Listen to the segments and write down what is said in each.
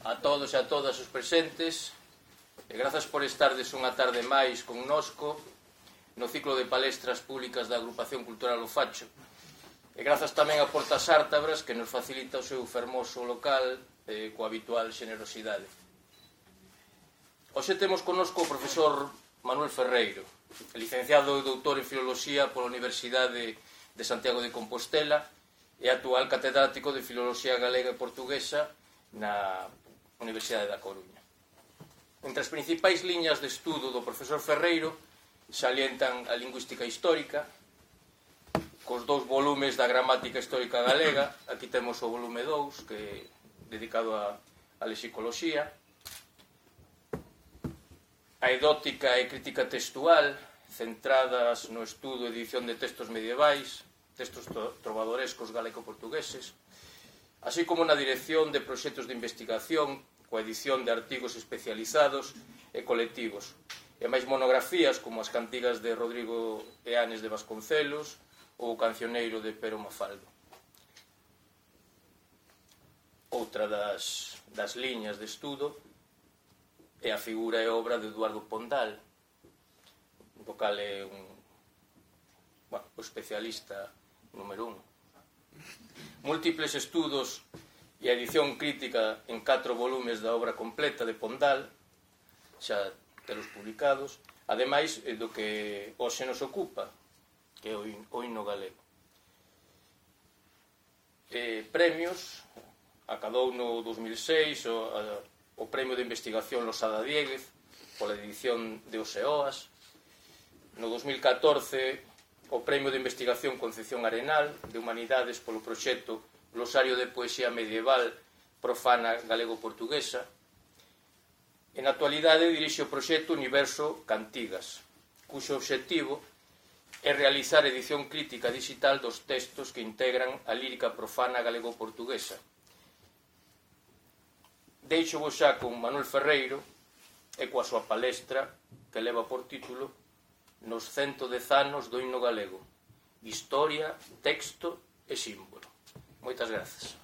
A todos e a todas os presentes, e grazas por estardes unha tarde máis connosco no ciclo de palestras públicas da Agrupación Cultural O Facho, e grazas tamén a Portas Ártabras, que nos facilita o seu fermoso local coa habitual xenerosidade. Hoxe temos connosco o profesor Manuel Ferreiro, licenciado e doutor en Filoloxía pola Universidade de Santiago de Compostela e actual catedrático de Filoloxía Galega e Portuguesa na Universidade da Coruña. Entre as principais liñas de estudo do profesor Ferreiro salientan a lingüística histórica, cos 2 volumes da gramática histórica galega. Aquí temos o volume 2, que é dedicado a lexicoloxía, a edótica e crítica textual, centradas no estudo e edición de textos medievais, textos trovadorescos galego-portugueses, así como na dirección de proxectos de investigación, coa edición de artigos especializados e colectivos, e máis monografías como as cantigas de Rodrigo Eanes de Vasconcelos ou o cancioneiro de Pero Mafaldo. Outra das liñas de estudo é a figura e obra de Eduardo Pondal, do cal é o especialista número 1. Múltiples estudos e a edición crítica en 4 volumes da obra completa de Pondal, xa telos publicados, ademais do que hoxe nos ocupa, que é o himno galego. Premios, acadou no 2006 o Premio de Investigación Losada Diéguez pola edición de Oseoas, no 2014 o Premio de Investigación Concepción Arenal de Humanidades polo proxecto Glosario de Poesía Medieval Profana Galego-Portuguesa, e na actualidade dirixe o proxecto Universo Cantigas, cuxo obxectivo é realizar edición crítica digital dos textos que integran a lírica profana galego-portuguesa. Deixo vos xa con Manuel Ferreiro e coa súa palestra que leva por título Nos 110 anos do himno galego, historia, texto e símbolo. Moitas grazas.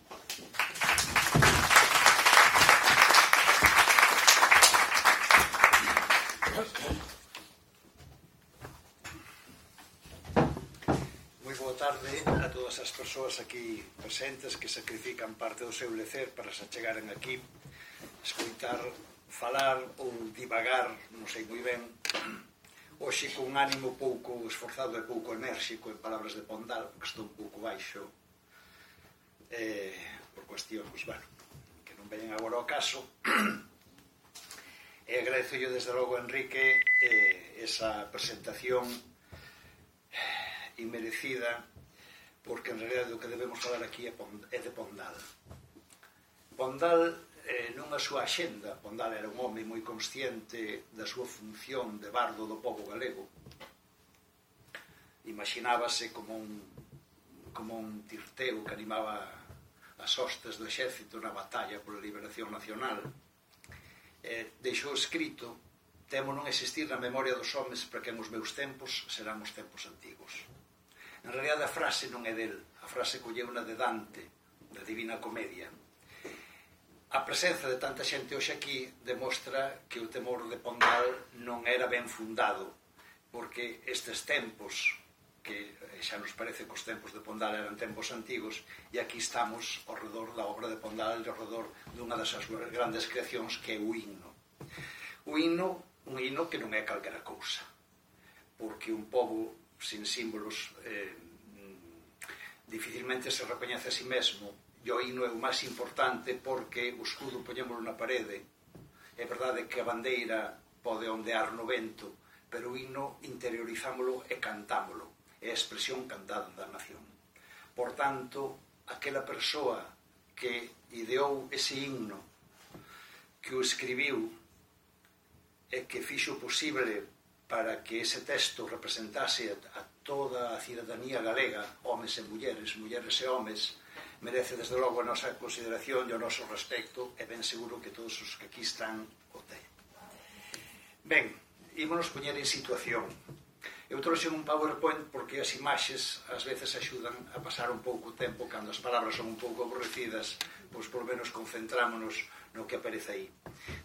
Moi boa tarde a todas as persoas aquí presentes que sacrifican parte do seu lecer para se achegaren aquí, escoitar, falar ou divagar, non sei moi ben, hoxe con un ánimo pouco esforzado e pouco enérxico en palabras de Pondal, porque estou un pouco baixo por cuestións, que non veñen agora ao caso, e agradezo yo desde logo a Enrique esa presentación inmerecida, porque en realidad o que debemos falar aquí é de Pondal. Pondal, nunha súa axenda, Pondal era un home moi consciente da súa función de bardo do pobo galego. Imaginábase como un tirteo que animaba as hostes do exército na batalla pola liberación nacional. Deixou escrito: temo non existir na memoria dos homes para que os meus tempos serán os tempos antigos. En realidad a frase non é del, a frase colleuna de Dante, da Divina Comedia. A presenza de tanta xente hoxe aquí demostra que o temor de Pondal non era ben fundado, porque estes tempos, que xa nos parece que os tempos de Pondal eran tempos antigos, e aquí estamos ao redor da obra de Pondal e ao redor dunha das súas grandes creacións, que é o himno. Un himno que non é calquera cousa, porque un pobo sin símbolos dificilmente se recoñece a si mesmo. E o himno é o máis importante porque o escudo poñémolo na parede. É verdade que a bandeira pode ondear no vento, pero o himno interiorizámolo e cantámolo. É a expresión cantada da nación. Por tanto, aquela persoa que ideou ese himno, que o escribiu e que fixo posible para que ese texto representase a toda a cidadanía galega, homes e mulleres e homes, merece desde logo a nosa consideración e o noso respecto, e ben seguro que todos os que aquí están o ten. Ben, ímonos poñer en situación. Eu trouxe un PowerPoint porque as imaxes ás veces axudan a pasar un pouco o tempo cando as palabras son un pouco aborrecidas, pois polo menos concentrámonos no que aparece aí.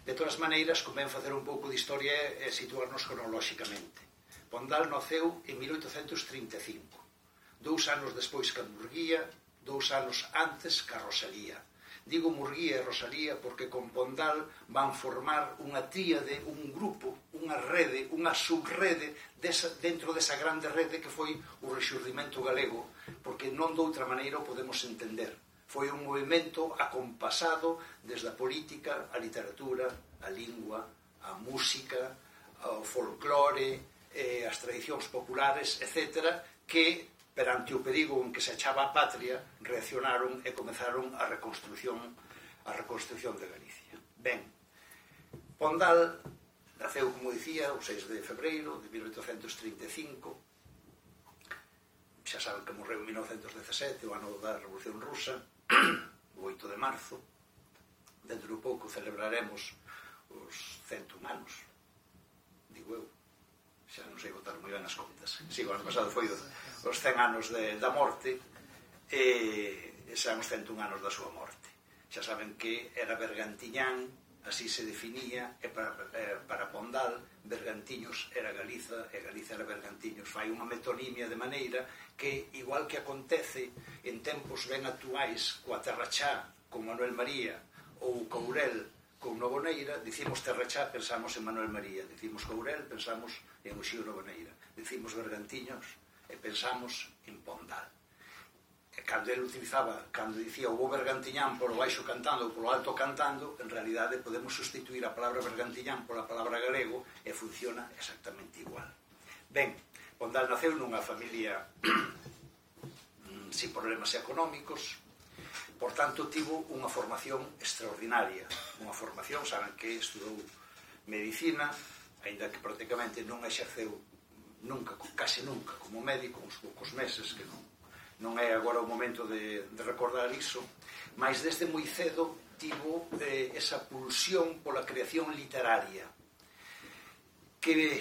De todas maneiras, convén facer un pouco de historia e situarnos cronolóxicamente. Pondal naceu en 1835, 2 anos despois que a Murguía, 2 anos antes que a Rosalía. Digo Murguía e Rosalía porque con Pondal van formar unha tríade, un grupo, unha rede, unha subrede dentro desa grande rede que foi o Rexurdimento galego, porque non de outra maneira o podemos entender. Foi un movimento acompasado desde a política, a literatura, a lingua, a música, o folclore, as tradicións populares, etc., que perante o perigo en que se achaba a patria, reaccionaron e comezaron a reconstrucción de Galicia. Ben, Pondal naceu, como dicía, o 6 de febreiro de 1835. Xa saben que morreu en 1917, o ano da Revolución Rusa, o 8 de marzo. Dentro de pouco celebraremos os 101 anos, digo eu. Xa non sei botar moi ben as contas. Si, o ano pasado foi os 100 anos da morte e serán os 101 anos da súa morte. Xa saben que era Bergantiñán, así se definía, e para Pondal, Bergantiños era Galiza e Galiza era Bergantiños. Fai unha metonimia de maneira que, igual que acontece en tempos ben actuais coa Terrachá, con Manuel María, ou Courel, con Novoneira, dicimos Terrachá, pensamos en Manuel María, dicimos Courel, pensamos en Uxío Novoneira, dicimos Bergantiños e pensamos en Pondal. E cando ele utilizaba, cando dicía o Bergantiñán polo baixo cantando ou polo alto cantando, en realidade podemos sustituir a palabra Bergantiñán pola palabra galego e funciona exactamente igual. Ben, Pondal naceu nunha familia sin problemas económicos. Por tanto, tivo unha formación extraordinaria. Unha formación, saben que estudou medicina, aínda que prácticamente non exerceu nunca, case nunca, como médico, uns poucos meses, que non é agora o momento de recordar iso, mas desde moi cedo tivo esa pulsión pola creación literaria, que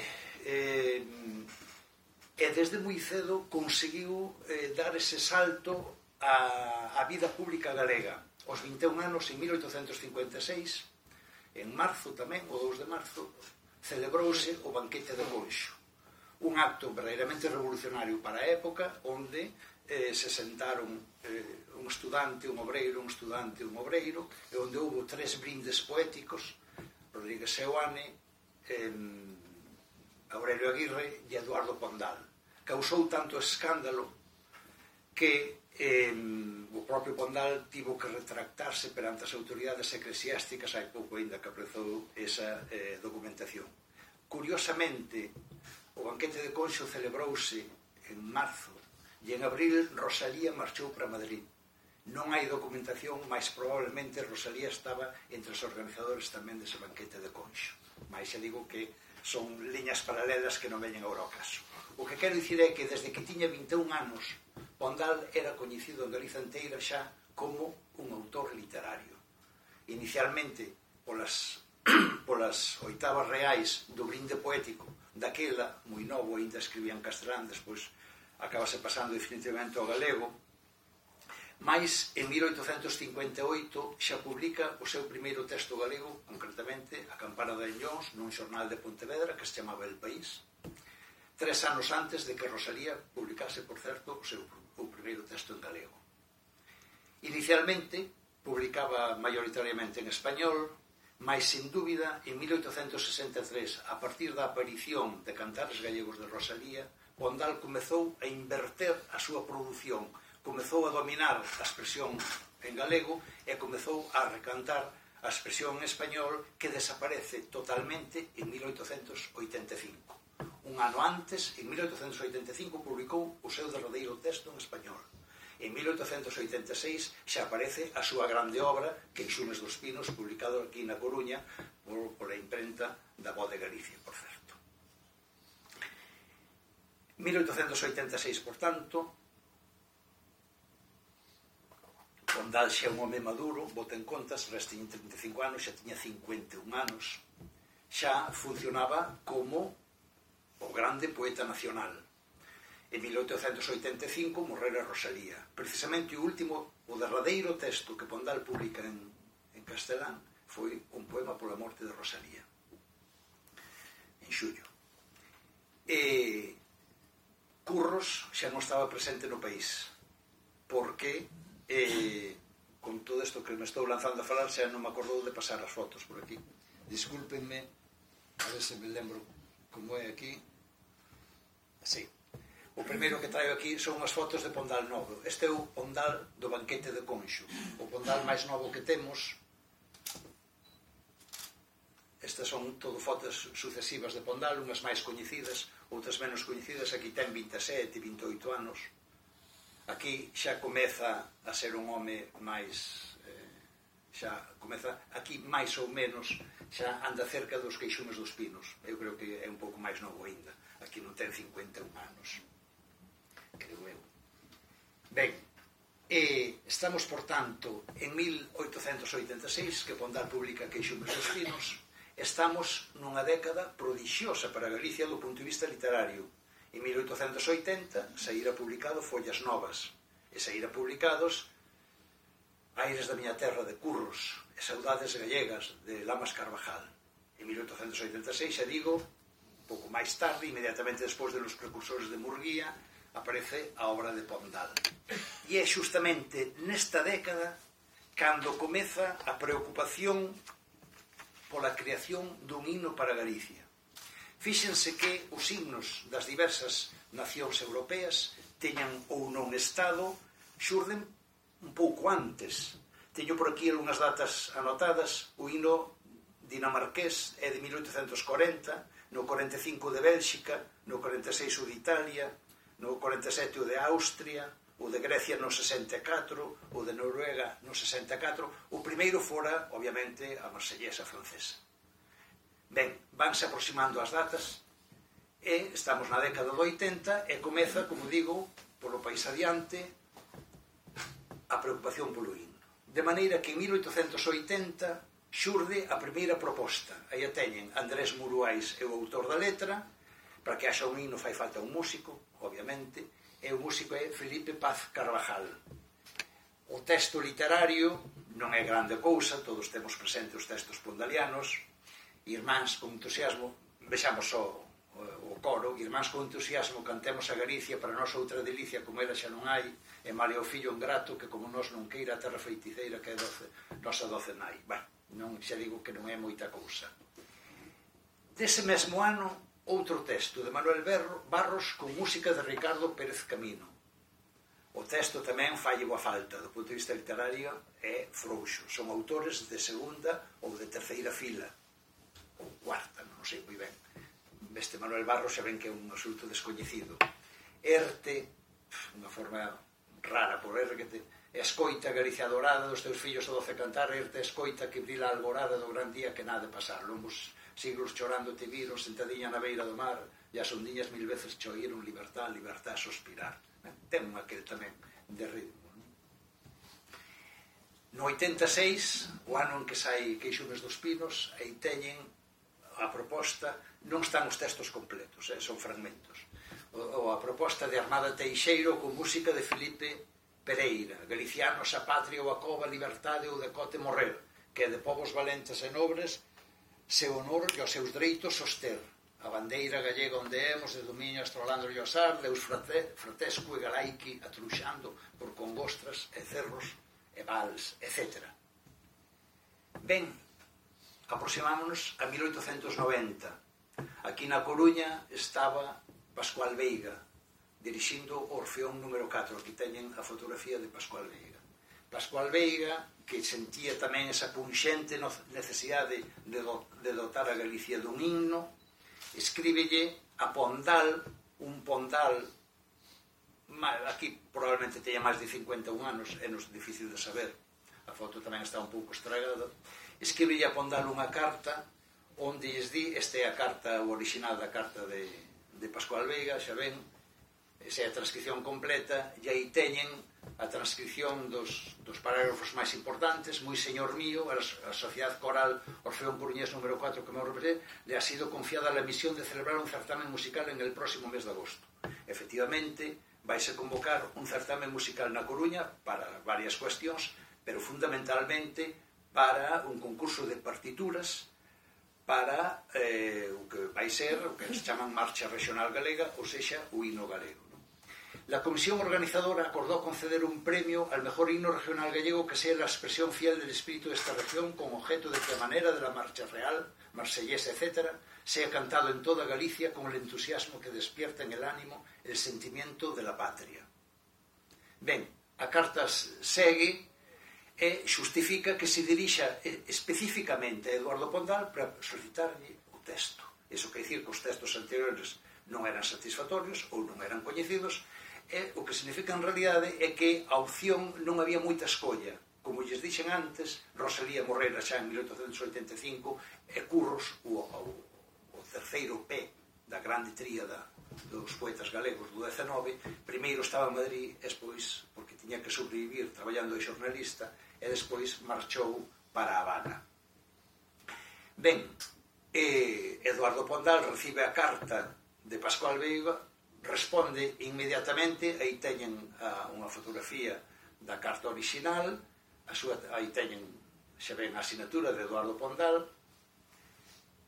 desde moi cedo conseguiu dar ese salto a vida pública galega. Os 21 anos, en 1856, en marzo tamén, o 2 de marzo, celebrouse o banquete de Conxo. Un acto verdadeiramente revolucionario para a época, onde se sentaron un estudante, un obreiro, e onde houve 3 brindes poéticos, Rodríguez Seoane, Aurelio Aguirre e Eduardo Pondal. Causou tanto escándalo que o propio Pondal tivo que retractarse perante as autoridades eclesiásticas, hai pouco ainda que aprezou esa documentación. Curiosamente, o banquete de Conxo celebrouse en marzo e en abril Rosalía marchou para Madrid. Non hai documentación, mas probablemente Rosalía estaba entre os organizadores tamén dese banquete de Conxo. Mas xa digo que son liñas paralelas que non veñen agora ao caso. O que quero dicir é que desde que tiña 21 anos Pondal era coñecido en Galiza inteira xa como un autor literario. Inicialmente polas 8avas reais do brinde poético daquela, moi novo, ainda escribía en castelán, despois acabase pasando definitivamente ao galego, mas en 1858 xa publica o seu primeiro texto galego, concretamente A campana de Enllóns, nun xornal de Pontevedra que se chamaba El País, 3 anos antes de que Rosalía publicase, por certo, o primeiro texto en galego. Inicialmente publicaba maioritariamente en español, mas, sin dúbida, en 1863, a partir da aparición de Cantares Gallegos de Rosalía, Pondal comezou a inverter a súa produción, comezou a dominar a expresión en galego e comezou a recantar a expresión en español, que desaparece totalmente en 1885. Un ano antes, en 1885, publicou o seu derradeiro texto en español. En 1886 xa aparece a súa grande obra, Queixumes dos Pinos, publicado aquí na Coruña por a imprenta da Voz de Galicia, por certo. 1886, por tanto, Pondal xa é un home maduro, bota en contas, resta en 35 anos, xa tiña 51 anos, xa funcionaba como o grande poeta nacional. En 1885 morrera Rosalía. Precisamente o último o derradeiro texto que Pondal publica en castelán foi un poema pola morte de Rosalía, en xullo. E Curros xa non estaba presente no país, porque con todo isto que me estou lanzando a falar xa non me acordou de pasar as fotos por aquí. Discúlpenme, a ver se me lembro como é aquí. Así. O primeiro que traio aquí son as fotos de Pondal novo. Este é o Pondal do banquete de Conxo, o Pondal máis novo que temos. Estas son todo fotos sucesivas de Pondal, unhas máis coñecidas, outras menos coñecidas. Aquí ten 27, 28 anos. Aquí xa comeza a ser un home máis... xa comeza, aquí máis ou menos, xa anda cerca dos Queixumes dos Pinos. Eu creo que é un pouco máis novo ainda. Aquí non ten 51 anos. Creo eu. Ben, estamos, por tanto, en 1886, que Pondal publica Queixumes dos Pinos. Estamos nunha década prodixiosa para Galicia do punto de vista literario. En 1880 saíra publicado Follas Novas e saíra publicados Aires da miña terra de Curros e Saudades gallegas de Lamas Carvajal. En 1886, xa digo, un pouco máis tarde, inmediatamente despois de Los precursores de Murguía, aparece a obra de Pondal. E é justamente nesta década cando comeza a preocupación pola creación dun himno para Galicia. Fíxense que os himnos das diversas nacións europeas teñan ou non estado, xurden un pouco antes. Teño por aquí algunhas datas anotadas. O himno dinamarqués é de 1840, no 45 de Bélxica, no 46 o de Italia, no 47 o de Austria, o de Grecia no 64, o de Noruega no 64. O primeiro fora, obviamente, a marsellesa francesa. Ben, vanse aproximando as datas e estamos na década do 80 e comeza, como digo, polo país adiante a preocupación polo himno. De maneira que en 1880 xurde a primeira proposta. Aí a teñen Andrés Muruais, é o autor da letra. Para que haxa un himno fai falta un músico, obviamente, e o músico é Felipe Paz Carvajal. O texto literario non é grande cousa, todos temos presente os textos pondalianos. Irmáns con entusiasmo, vexamos o coro, irmáns con entusiasmo cantemos a Galicia, para nós outra delicia como ela xa non hai, e male o fillo ingrato que como nós non queira a terra feiticeira que é nosa doce nai. Non, xa digo que non é moita cousa. Dese mesmo ano, outro texto de Manuel Barros con música de Ricardo Pérez Camino. O texto tamén falle boa falta, do punto de vista literario é frouxo. Son autores de segunda ou de terceira fila, ou cuarta, non sei moi ben. Este Manuel Barros xa ven que é un absoluto descoñecido. Erte, unha forma rara por Erte, escoita Galicia dorada dos teus fillos o doce cantar, Erte escoita que brila a alborada do gran día que nada de pasar. Longos siglos chorando te viron, sentadiña na beira do mar, e as ondiñas mil veces che oíron libertad, libertad, suspirar. Ten aquel tamén de ritmo. No 86, o ano en que sai Queixumes dos Pinos, aí teñen a proposta, non están os textos completos, son fragmentos. A proposta de Armada Teixeiro con música de Felipe Pereira, Galicianos a patria ou a cova, liberdade ou decote morrer, que é de povos valentes e nobres, se honor e os seus dereitos soster. A bandeira gallega onde hemos, de dominio astrolando o osar, Deus fratesco e galaiqui atruxando por congostras e cerros e vals, etc. Ben, aproximámonos a 1890. Aquí na Coruña estaba Pascual Veiga, dirixindo o Orfeón número 4. Aquí teñen a fotografía de Pascual Veiga. Pascual Veiga, que sentía tamén esa punxente necesidade de dotar a Galicia dun himno, escríbelle a Pondal, un Pondal, aquí probablemente teña máis de 51 anos, é difícil de saber, a foto tamén está un pouco estragada, escríbelle a Pondal unha carta onde lles di, esta é a carta, o original da carta de Pascual Veiga, xa ven, esa é a transcripción completa, e aí teñen a transcripción dos parágrafos máis importantes. Moi señor mío, a Sociedade Coral Orfeón Coruñés número 4 que me representa, le ha sido confiada la misión de celebrar un certamen musical en el próximo mes de agosto. Efectivamente, vaise convocar un certamen musical na Coruña para varias cuestións, pero fundamentalmente para un concurso de partituras para o que vai ser o que se chaman Marcha Regional Galega, ou sexa, o himno galego. La comisión organizadora acordó conceder un premio al mejor himno regional gallego que sea la expresión fiel del espíritu de esta región, con objeto de que a manera de la marcha real, marsellesa, etc., sea cantado en toda Galicia con el entusiasmo que despierta en el ánimo el sentimiento de la patria. Ben, a carta segue e xustifica que se dirixa especificamente a Eduardo Pondal para solicitarlle o texto. Iso quer dicir que os textos anteriores non eran satisfactorios ou non eran coñecidos, e o que significa en realidade é que a opción non había moita escolla. Como lles dixen antes, Rosalía morrera xa en 1885 e Curros, o terceiro P da grande tríada dos poetas galegos do XIX, primeiro estaba en Madrid, despois, porque tiña que sobrevivir traballando de xornalista, e despois marchou para A Habana. Ben, Eduardo Pondal recibe a carta de Pascual Veiga, responde inmediatamente, aí teñen unha fotografía da carta original, aí teñen xa ven a asinatura de Eduardo Pondal,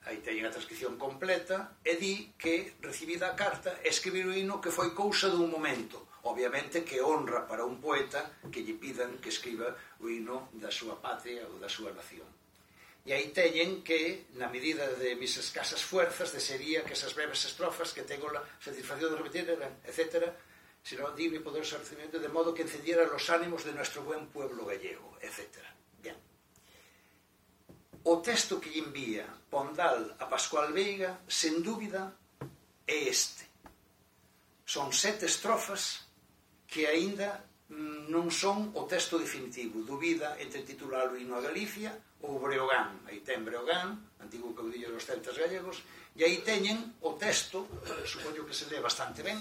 aí teñen a transcripción completa, e di que recibida a carta escribir o himno que foi cousa dun momento. Obviamente que honra para un poeta que lle pidan que escriba o himno da súa patria ou da súa nación. E aí teñen que, na medida de mis escasas fuerzas, desearía que esas breves estrofas que tengo la satisfacción de repetir, etc., sino digno y poderoso recibimiento, de modo que encendiera los ánimos de nuestro buen pueblo gallego, etc. Bien. O texto que lle envía Pondal a Pascual Veiga, sen dúbida, é este. Son 7 estrofas que aínda non son o texto definitivo. Dubida entre titular o himno a Galicia ou Breogán. Aí ten Breogán, antigo caudillo dos celtas gallegos, e aí teñen o texto, supoño que se lee bastante ben,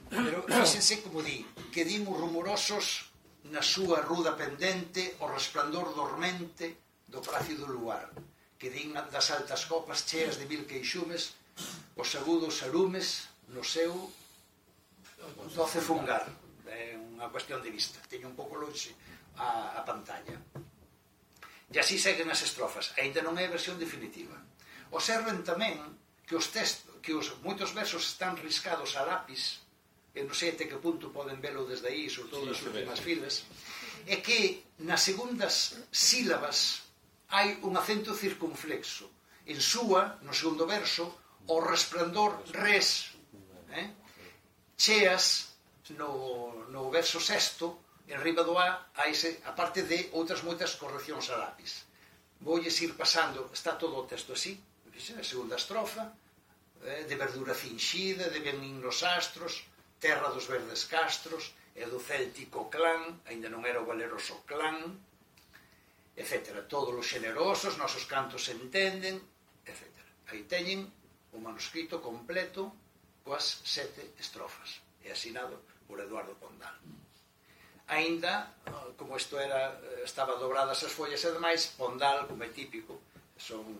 pero fíxense como di, que din os rumorosos na súa ruda pendente o resplandor dormente do plácido luar, que din das altas copas cheas de mil queixumes, os agudos arumes no seu doce fungar. É unha cuestión de vista, teño un pouco longe a pantalla. E así seguen as estrofas, aínda non é a versión definitiva. Observen tamén que moitos versos están riscados a lápis, e non sei até que punto poden velo desde aí, sobre todo nas últimas filas, e que nas segundas sílabas hai un acento circunflexo. En súa, no segundo verso, o resplandor res, cheas no verso sexto, en riba do A, a parte de outras moitas correccións a lápis. Voulles ir pasando, está todo o texto así, a segunda estrofa, de verdura cinxida, de venín nos astros, terra dos verdes castros, e do céltico clán, aínda non era o valeroso clán, etc. Todos os xenerosos, nosos cantos se entenden, etc. Aí teñen o manuscrito completo coas 7 estrofas, e asinado por Eduardo Pondal. Aínda, como isto estaba dobradas as follas e demais, Pondal, como é típico, son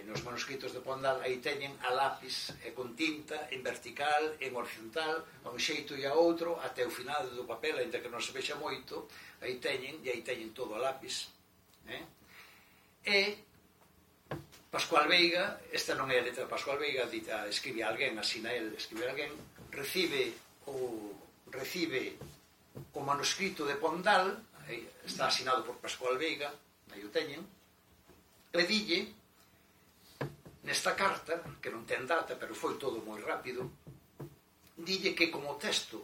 nos manuscritos de Pondal, aí teñen a lápis con tinta en vertical, en horizontal, a un xeito e a outro, até o final do papel, ainda que non se vexa moito, aí teñen todo a lápis. E Pascual Veiga, esta non é a letra de Pascual Veiga, escribe a alguén, asina el, escribe a alguén, recibe o manuscrito de Pondal, está asinado por Pascual Veiga, aí o teñen, e dille, nesta carta, que non ten data, pero foi todo moi rápido, dille que como texto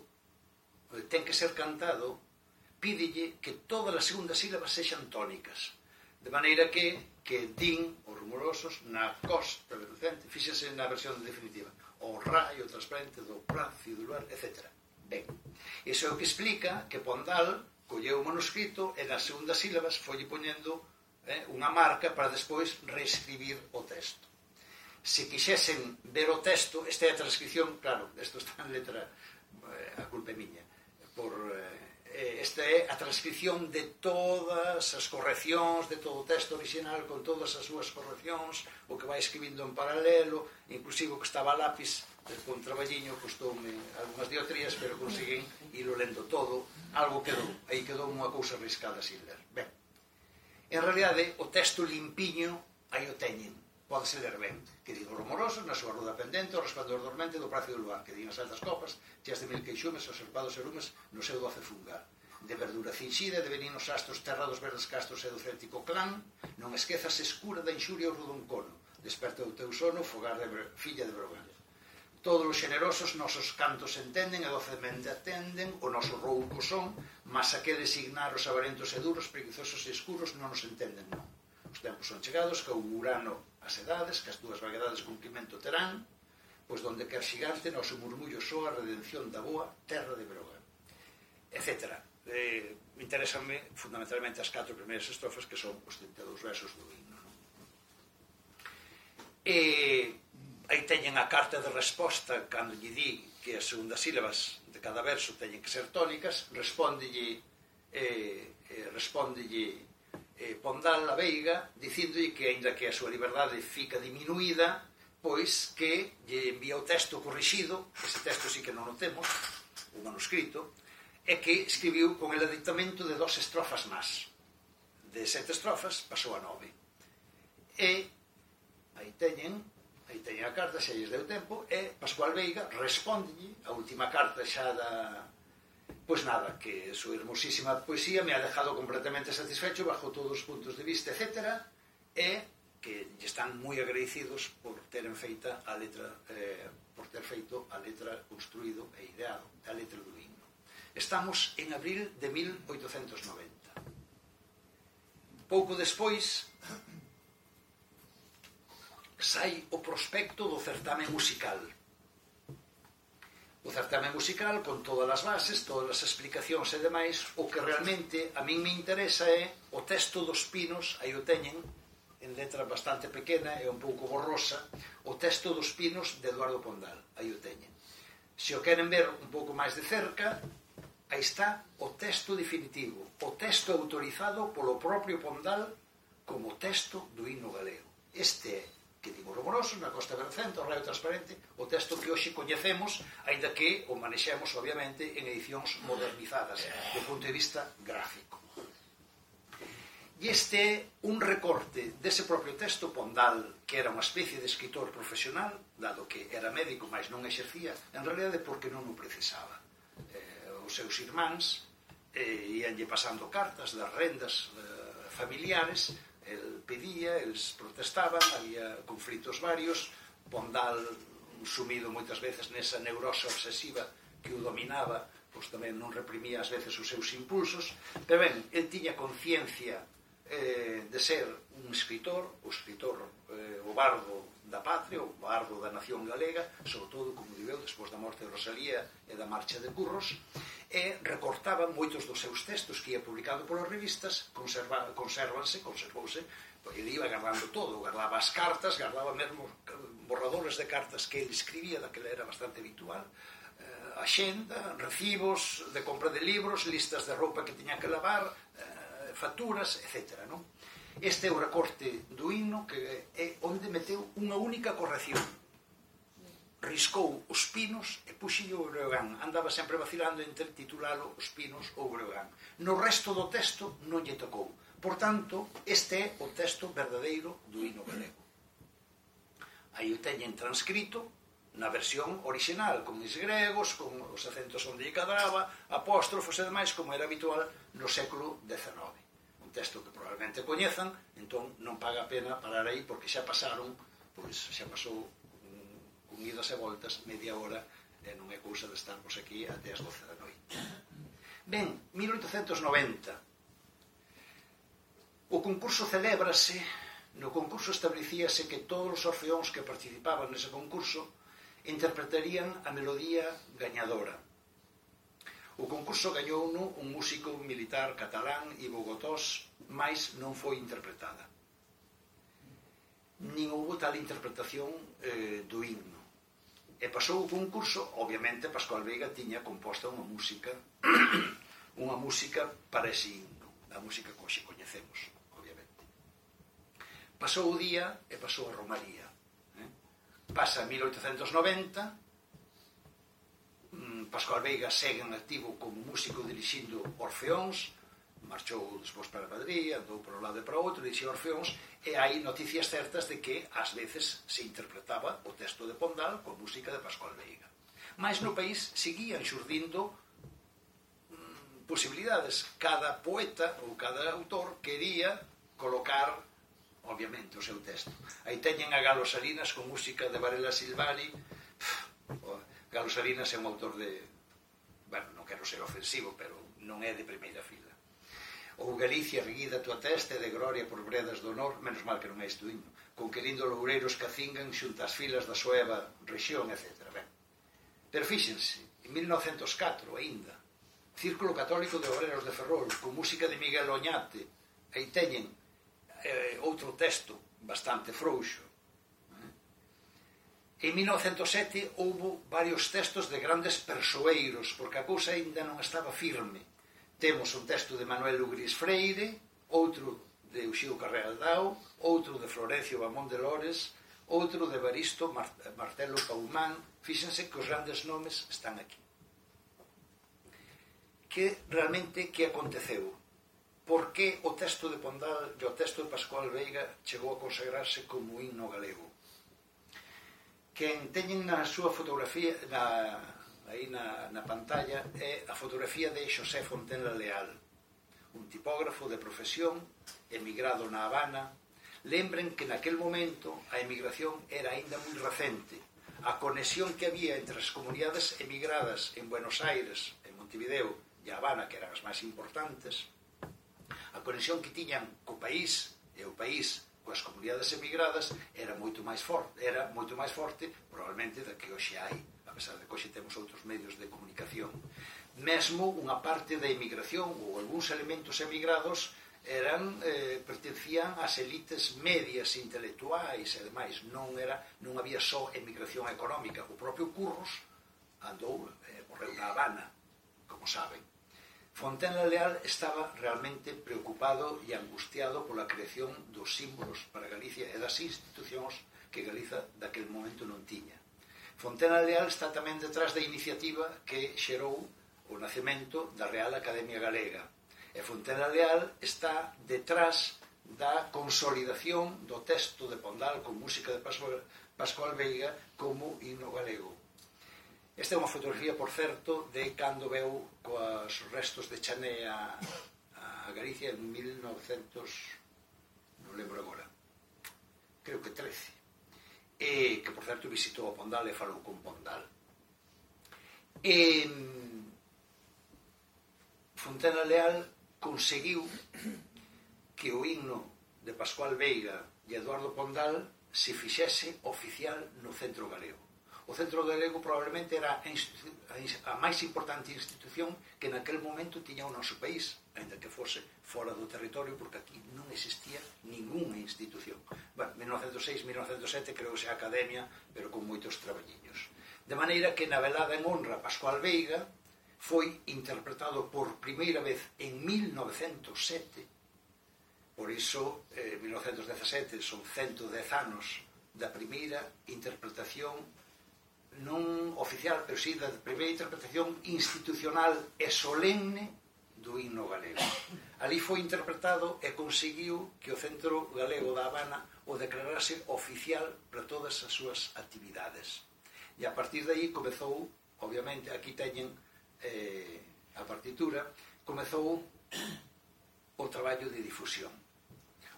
ten que ser cantado, pídelle que todas as segundas sílabas sexan tónicas, de maneira que din os rumorosos na costa do centro, fíxense na versión definitiva, o raio transparente do plácido luar, etc. Ben, iso é o que explica que Pondal colleu o manuscrito e nas segundas sílabas foi poñendo unha marca para despois reescribir o texto. Se quixesen ver o texto, esta é a transcripción, claro, isto está en letra, a culpa é miña, esta é a transcripción de todas as correccións, de todo o texto original, con todas as súas correccións, o que vai escribindo en paralelo, inclusive o que estaba a lápis, con traballiño, costoume algunhas diotrías, pero conseguín ilo lendo todo, algo quedou, aí quedou unha cousa riscada sin ler. Ben, en realidade, o texto limpiño, aí o teñen, pódese ler ben, que digo os rumorosos, na súa ruda pendente, o resplandor dormente do prazo do luar, que digan as altas copas, cheas de mil queixumes, observados e lumes, no seu doce fungar. De verdura cinxida, de veninos astros, terra dos verdes castros e do céltico clán, non esquezas escura da inxuria o rudoncono, desperta o teu sono, fogar de filla de Brogan. Todos os xenerosos nosos cantos entenden e docemente atenden, o noso rouco son, mas aqueles ignaros avarentos e duros, preguizosos e escuros non nos entenden, non. Os tempos son chegados, que augurano as edades, que as túas vaguedades cumprimento terán, pois donde quer xigante noso murmullo soa a redención da boa terra de Brogan, etc. Interesanme fundamentalmente as 4 primeiras estrofas, que son os 32 versos do himno. Aí teñen a carta de resposta, cando lle di que as segundas sílabas de cada verso teñen que ser tónicas, respóndelle Pondal a Veiga, dicíndolle que, aínda que a súa liberdade fica diminuída, pois que lle envía o texto corrixido, ese texto sí que non o temos, o manuscrito, e que escribiu con el aditamento de 2 estrofas más. De 7 estrofas pasou a 9. E aí teñen a carta, xa lles deu tempo, e Pascual Veiga respóndelle a última carta xa da... Pois nada, que a súa hermosísima poesía me ha dejado completamente satisfecho bajo todos os puntos de vista, etc. E que lle están moi agradecidos por teren feita a letra, por ter feito a letra construído e ideado, a letra do himno. Estamos en abril de 1890. Pouco despois sai o prospecto do certame musical. O certame musical, con todas as bases, todas as explicacións e demais, o que realmente a min me interesa é o texto dos Pinos, aí o teñen, en letra bastante pequena e un pouco borrosa, o texto dos Pinos de Eduardo Pondal, aí o teñen. Se o queren ver un pouco máis de cerca, aí está o texto definitivo, o texto autorizado polo propio Pondal como texto do himno galego. Este é, que digo rumoroso, na Costa Vercente, o raio transparente, o texto que hoxe coñecemos, aínda que o manexemos, obviamente, en edicións modernizadas, do punto de vista gráfico. E este é un recorte dese propio texto Pondal, que era unha especie de escritor profesional, dado que era médico, mas non exercía, en realidade porque non o precisaba. Os seus irmáns ianlle pasando cartas das rendas familiares, el pedía, eles protestaban, había conflitos varios, Pondal sumido moitas veces nesa neurose obsesiva que o dominaba, pois tamén non reprimía ás veces os seus impulsos, pero ben, el tiña conciencia de ser un escritor, o bardo da patria, o bardo da nación galega, sobre todo, como digo, despois da morte de Rosalía e da marcha de Curros, e recortaba moitos dos seus textos que ia publicado polas revistas, conservouse, ele iba guardando todo, guardaba as cartas, guardaba mesmo borradores de cartas que ele escribía, daquela era bastante habitual, axenda, recibos de compra de libros, listas de roupa que tiña que lavar, facturas, etc. Non? Este é o recorte do himno, que é onde meteu unha única corrección. Riscou os Pinos e puxillo o Breogán. Andaba sempre vacilando entre titulalo Os Pinos ou Breogán. No resto do texto non lle tocou. Por tanto, este é o texto verdadeiro do himno galego. Aí o teñen transcrito na versión original, con os gregos, con os acentos onde lle cadraba, apóstrofos e demais, como era habitual no século XIX. Un texto que probablemente coñezan, entón non paga a pena parar aí, porque xa pasaron, pois xa pasou con idas e voltas media hora, e non é cousa de estarmos aquí até as 12 da noite. Ben, 1890. O concurso celébrase. No concurso establecíase que todos os orfeóns que participaban nese concurso interpretarían a melodía gañadora. O concurso gañouno un músico militar catalán, Ivo Gotós, mais non foi interpretada. Nin houve tal interpretación do himno. E pasou o concurso, obviamente Pascual Veiga tiña composta unha música unha música para ese himno, a música que hoxe coñecemos, obviamente. Pasou o día e pasou a Romaría. Pasa 1890, Pascual Veiga segue en activo como músico dirixindo Orfeóns, marchou despois para Madrid, andou por un lado e para outro, dirixía Orfeóns, e hai noticias certas de que ás veces se interpretaba o texto de Pondal con música de Pascual Veiga. Mas no país seguían xurdindo posibilidades. Cada poeta ou cada autor quería colocar, obviamente, o seu texto. Aí teñen a Galo Salinas con música de Varela Silvali. Galo Salinas é un autor de... Bueno, non quero ser ofensivo, pero non é de primeira fila. Ou Galicia erguida tua testa de gloria por bredas do honor, menos mal que non é isto himno, con que lindo loureiros cacingan xunto as filas da súa rexión, etc. Ben. Pero fíxense, en 1904 aínda, Círculo Católico de Obreros de Ferrol, con música de Miguel Oñate, aí teñen outro texto bastante frouxo. En 1907 houbo varios textos de grandes persoeiros, porque a cousa aínda non estaba firme. Temos un texto de Manuel Ugris Freire, outro de Uxío Carreal Dao, outro de Florencio Bamón de Lores, outro de Evaristo Martelo Paumán. Fíxense que os grandes nomes están aquí. Que realmente que aconteceu? Por que o texto de Pondal e o texto de Pascual Veiga chegou a consagrarse como himno galego? Quen teñen na súa fotografía aí na pantalla é a fotografía de Xosé Fontenla Leal, un tipógrafo de profesión emigrado na Habana. Lembren que naquel momento a emigración era aínda moi recente. A conexión que había entre as comunidades emigradas en Buenos Aires, en Montevideo e a Habana, que eran as máis importantes, a conexión que tiñan co país e o país coas comunidades emigradas era moito máis forte probablemente da que hoxe hai, a pesar de que hoxe temos outros medios de comunicación. Mesmo unha parte da emigración ou algúns elementos emigrados pertencían ás elites medias intelectuais e demais. Non había só emigración económica. O propio Curros morreu na Habana, como saben. Fontenla Leal estaba realmente preocupado e angustiado pola creación dos símbolos para Galicia e das institucións que Galiza daquel momento non tiña. Fontenla Leal está tamén detrás da iniciativa que xerou o nacemento da Real Academia Galega. E Fontenla Leal está detrás da consolidación do texto de Pondal con música de Pascual Veiga como himno galego. Esta é unha fotografía, por certo, de cando veu coas restos de Chané a Galicia en 1900, non lembro agora, creo que 13, e que, por certo, visitou a Pondal e falou con Pondal. Fontenla Leal conseguiu que o himno de Pascual Veiga e Eduardo Pondal se fixese oficial no Centro Galego. O Centro Galego probablemente era a máis importante institución que naquel momento tiña o noso país, ainda que fose fora do territorio, porque aquí non existía ninguna institución. Bueno, 1906, 1907 creouse a Academia, pero con moitos traballiños. De maneira que na velada en honra a Pascual Veiga foi interpretado por primeira vez en 1907. Por iso, 1917 son 110 anos da primeira interpretación non oficial, pero sí da primeira interpretación institucional e solemne do himno galego. Ali foi interpretado e conseguiu que o Centro Galego da Habana o declarase oficial para todas as súas actividades. E a partir de aí comezou, obviamente, aquí teñen a partitura, comezou o traballo de difusión.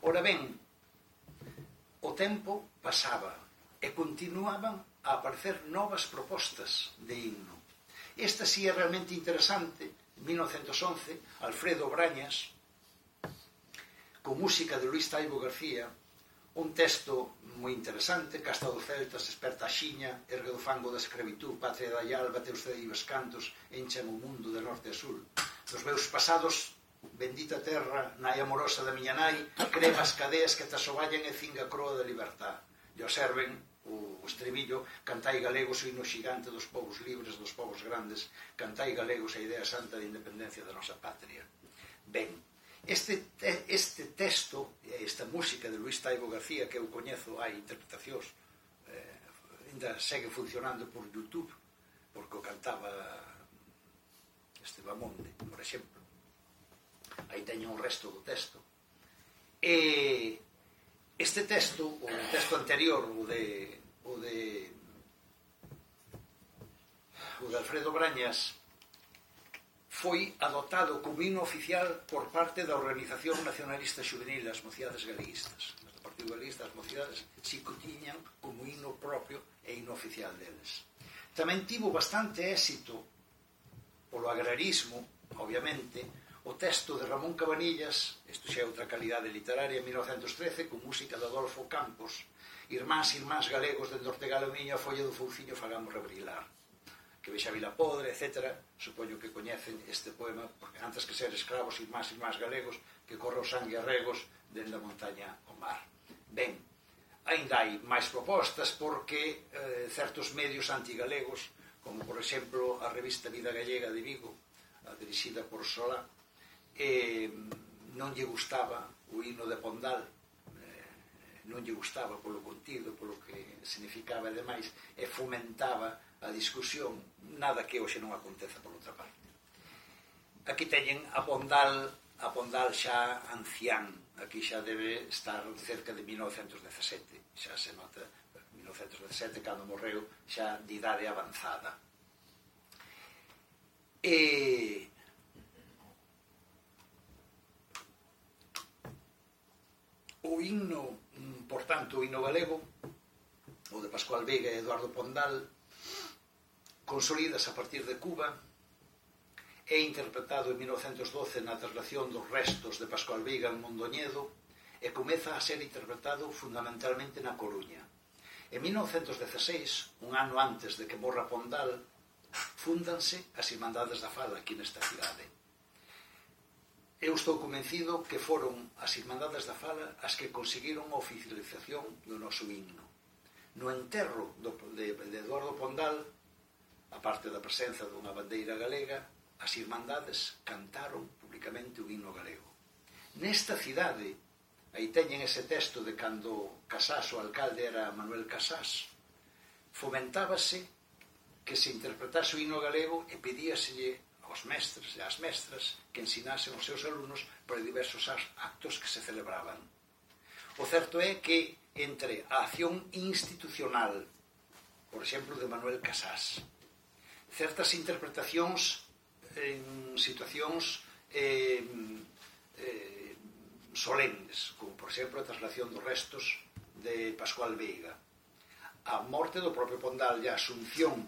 Ora ben, o tempo pasaba e continuaban a aparecer novas propostas de himno. Esta sí é realmente interesante. En 1911, Alfredo Brañas, con música de Luís Taibo García, un texto moi interesante: Casta dos celtas, esperta a xiña, ergue do fango da escravitú, patria da alba, teus cedivos cantos, enchan o mundo de norte a sur. Dos meus pasados, bendita terra, nai amorosa da miña nai, crema as cadeas que te asoballan e cinga a croa da libertad. E observen o estribillo: cantai galegos o himno xigante dos povos libres, dos povos grandes, cantai galegos a idea santa de independencia da nosa patria. Ben, este texto, esta música de Luis Taibo García, que eu coñezo, hai interpretacións, ainda segue funcionando por YouTube, porque o cantaba Estebamonde, por exemplo. Aí teño o resto do texto. E este texto, o texto anterior, o de Alfredo Brañas, foi adoptado como himno oficial por parte da Organización Nacionalista Xuvenil das Mocidades Galeguistas. O Partido Galeguista das Mocidades si que tiñan como himno propio e himno oficial deles. Tamén tivo bastante éxito polo agrarismo, obviamente, o texto de Ramón Cabanillas, isto xa é outra calidade literaria, en 1913, con música de Adolfo Campos: Irmáns galegos, dende Ortegal o miño, a folla do fouciño fagamos rebrilar. Que vexa Vila Podre, etc. Supoño que coñecen este poema, porque antes que ser escravos, irmáns galegos, que corre o sangue a regos, dende a montaña ao mar. Ben, ainda hai máis propostas, porque certos medios antigalegos, como por exemplo a revista Vida Gallega de Vigo, dirixida por Solá, non lle gustaba o himno de Pondal, non lle gustaba polo contido, polo que significaba e demais, e fomentaba a discusión, nada que hoxe non aconteza por outra parte. Aquí teñen a Pondal xa ancián, aquí xa debe estar cerca de 1917, xa se nota 1917, cando morreu, xa de idade avanzada. O himno, por tanto, o himno galego, o de Pascual Veiga e Eduardo Pondal, consolidas a partir de Cuba, é interpretado en 1912 na traslación dos restos de Pascual Veiga en Mondoñedo e comeza a ser interpretado fundamentalmente na Coruña. En 1916, un ano antes de que morra Pondal, fúndanse as Irmandades da Fala aquí nesta cidade. Eu estou convencido que foron as Irmandades da Fala as que conseguiron a oficialización do noso himno. No enterro de Eduardo Pondal, a parte da presenza dunha bandeira galega, as Irmandades cantaron públicamente o himno galego. Nesta cidade, aí teñen ese texto de cando Casás, o alcalde, era Manuel Casás, fomentábase que se interpretase o himno galego e pedíaselle aos mestres e ás mestras que ensinasen os seus alumnos para diversos actos que se celebraban. O certo é que entre a acción institucional, por exemplo, de Manuel Casás, certas interpretacións en situacións solemnes, como por exemplo a traslación dos restos de Pascual Veiga, a morte do propio Pondal e a asunción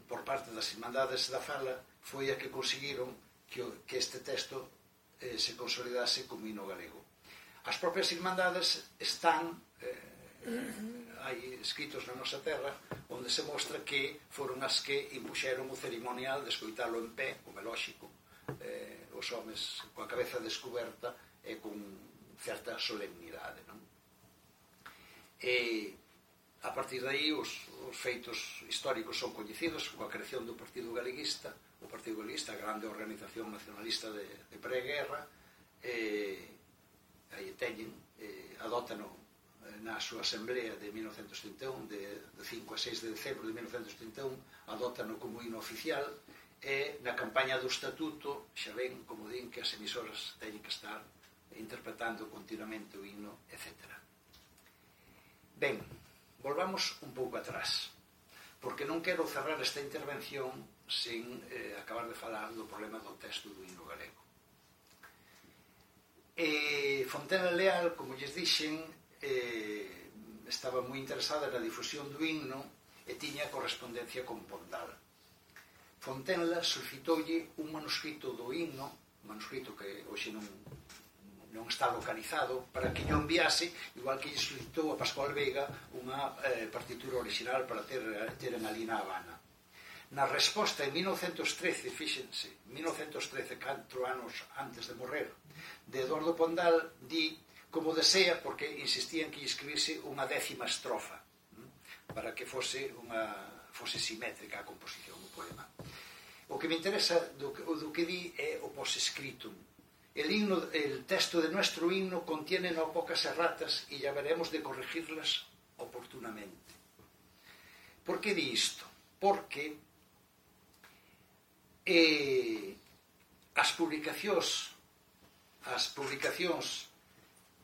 por parte das Irmandades da Fala, foi a que conseguiron que este texto se consolidase como himno galego. As propias Irmandades están hai escritos na nosa terra onde se mostra que foron as que impuxeron o ceremonial de escoitalo en pé, como é lóxico, os homes coa cabeza descoberta e con certa solemnidade, non? E a partir de aí os feitos históricos son coñecidos, coa creación do Partido Galeguista, a grande organización nacionalista de pré-guerra, aí teñen, adótano na súa asamblea de 1931, de 5 a 6 de decembro de 1931, adótano como himno oficial, e na campaña do estatuto xa ven, como din, que as emisoras teñen que estar interpretando continuamente o himno, etc. Ben, volvamos un pouco atrás, porque non quero cerrar esta intervención sen acabar de falar do problema do texto do himno galego. Fontela Leal, como lles dixen, estaba moi interesada na difusión do himno e tiña correspondencia con Pondal. Fontenla solicitoulle un manuscrito do himno, un manuscrito que hoxe non está localizado, para que yo enviase, igual que lle solicitou a Pascual Veiga unha partitura original para ter en ali na Habana. Na resposta en 1913, fíxense, 1913, 4 anos antes de morrer, de Eduardo Pondal, di como desea, porque insistía en que lle escribirse unha 10ª estrofa. para que fose simétrica a composición do poema. O que me interesa do que di é o posescritum. El texto de nuestro himno contiene no pocas erratas y ya veremos de corregirlas oportunamente. Por que di isto? Porque as publicacións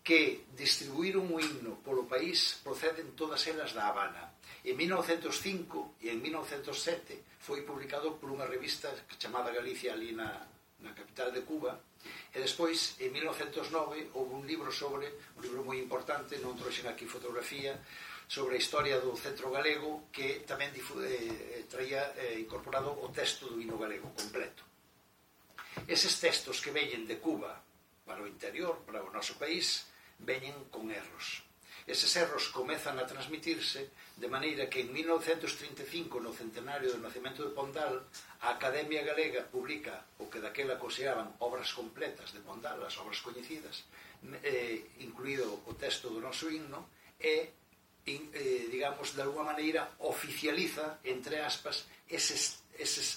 que distribuíron o himno polo país proceden todas elas da Habana. En 1905 e en 1907 foi publicado por unha revista chamada Galicia ali na capital de Cuba, e despois, en 1909, houve un libro moi importante, non trouxen aquí fotografía, sobre a historia do centro galego, que tamén traía incorporado o texto do himno galego completo. Eses textos que veñen de Cuba para o interior, para o noso país, veñen con erros. Eses erros comezan a transmitirse de maneira que en 1935, no centenario do nacemento de Pondal, a Academia Galega publica o que daquela consideraban obras completas de Pondal, as obras coñecidas, incluído o texto do noso himno, e, digamos, de alguma maneira oficializa, entre aspas, eses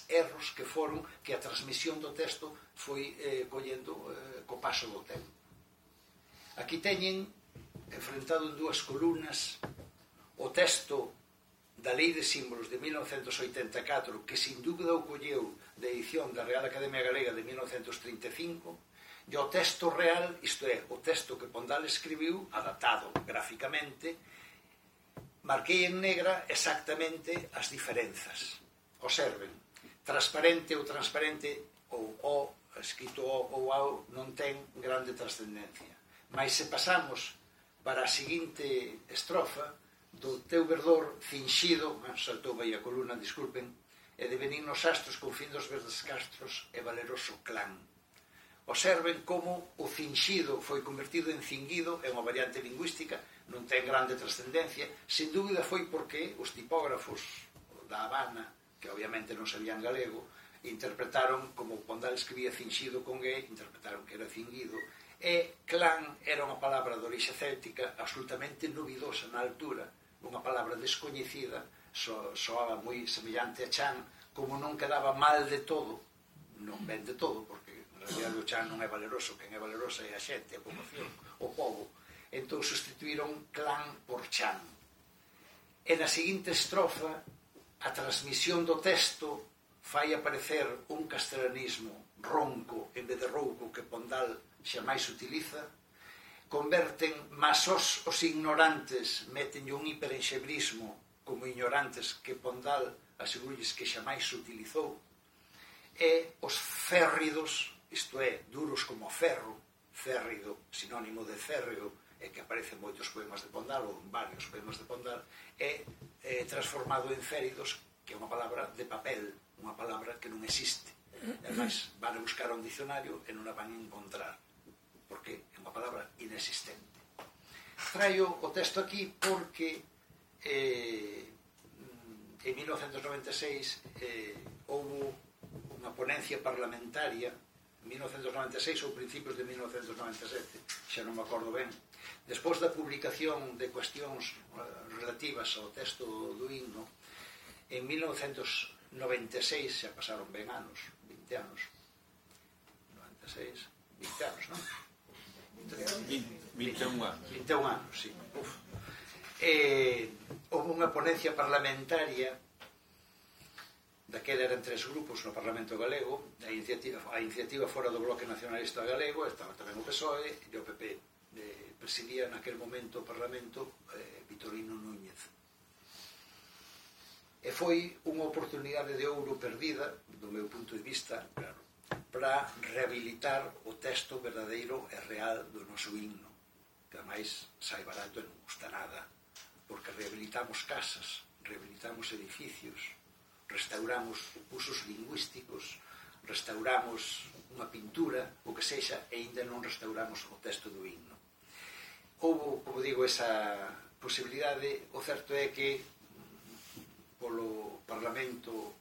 erros que foron que a transmisión do texto foi collendo co paso do tempo. Aquí teñen, enfrentado en dúas columnas, o texto da Lei de Símbolos de 1984, que sin dúbida o colleu da edición da Real Academia Galega de 1935, e o texto real, isto é, o texto que Pondal escribiu, adaptado gráficamente. Marquei en negra exactamente as diferenzas. Observen, transparente ou transparente, ou o, escrito o ou ao, non ten grande trascendencia. Mas se pasamos para a seguinte estrofa, do teu verdor finxido, saltou aí a columna, disculpen, e de benignos astros con fin dos verdes castros e valeroso clan. Observen como o finxido foi convertido en cinguido, é unha variante lingüística, non ten grande trascendencia, sin dúbida foi porque os tipógrafos da Habana, que obviamente non sabían galego, interpretaron, como Pondal escribía finxido con G, interpretaron que era cinguido, e clan era unha palabra de orixe céltica absolutamente novidosa na altura, unha palabra descoñecida, soaba moi semellante a chan, como non quedaba mal de todo, non ben de todo, porque en realidad o chan non é valeroso, quen é valerosa é a xente, a poboación, o pobo. Entón sustituíron clan por chan. E na seguinte estrofa, a transmisión do texto fai aparecer un castelanismo ronco en vez de rouco que Pondal xamais utiliza, converten masos os ignorantes, metenlle un hiperenxebrismo como ignorantes que Pondal asegurulles que xamais utilizou, e os férridos, isto é, duros como ferro, férrido, sinónimo de férreo, e que aparece en moitos poemas de Pondal, ou en varios poemas de Pondal, é transformado en féridos, que é unha palabra de papel, unha palabra que non existe. Ademais, van a buscar un dicionario e non a van a encontrar, porque é unha palabra inexistente. Traio o texto aquí porque en 1996 houve unha ponencia parlamentaria, en 1996 ou principios de 1997, xa non me acordo ben, despois da publicación de cuestións relativas ao texto do himno, en 1996, xa pasaron ben anos, 20 anos, 96, 20 anos, non? 21 anos. 21 anos, sí. Houve unha ponencia parlamentaria, daquela eran 3 grupos no Parlamento Galego, a iniciativa fora do Bloque Nacionalista Galego, estaba tamén o PSOE e o PP. Presidía naquel momento o Parlamento Vitorino Núñez. E foi unha oportunidade de ouro perdida, do meu punto de vista, claro, para rehabilitar o texto verdadeiro e real do noso himno, que ademais sai barato e non gusta nada, porque rehabilitamos casas, rehabilitamos edificios, restauramos usos lingüísticos, restauramos unha pintura, o que sexa, e ainda non restauramos o texto do himno. Houve, como digo, esa posibilidade. O certo é que polo Parlamento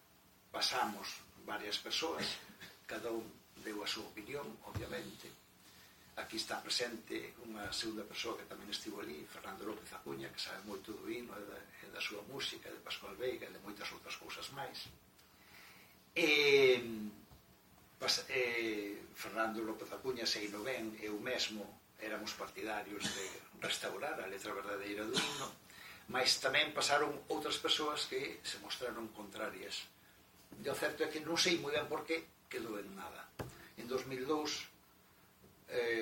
pasamos varias persoas, cada un deu a súa opinión, obviamente. aquí está presente unha segunda persoa que tamén estivo ali, Fernando López Acuña, que sabe moito do hino e da súa música, de Pascual Veiga e de moitas outras cousas máis. Fernando López Acuña, sei no ben, eu mesmo éramos partidarios de restaurar a letra verdadeira do himno, mas tamén pasaron outras persoas que se mostraron contrarias. E o certo é que non sei moi ben por que quedou en nada. En 2002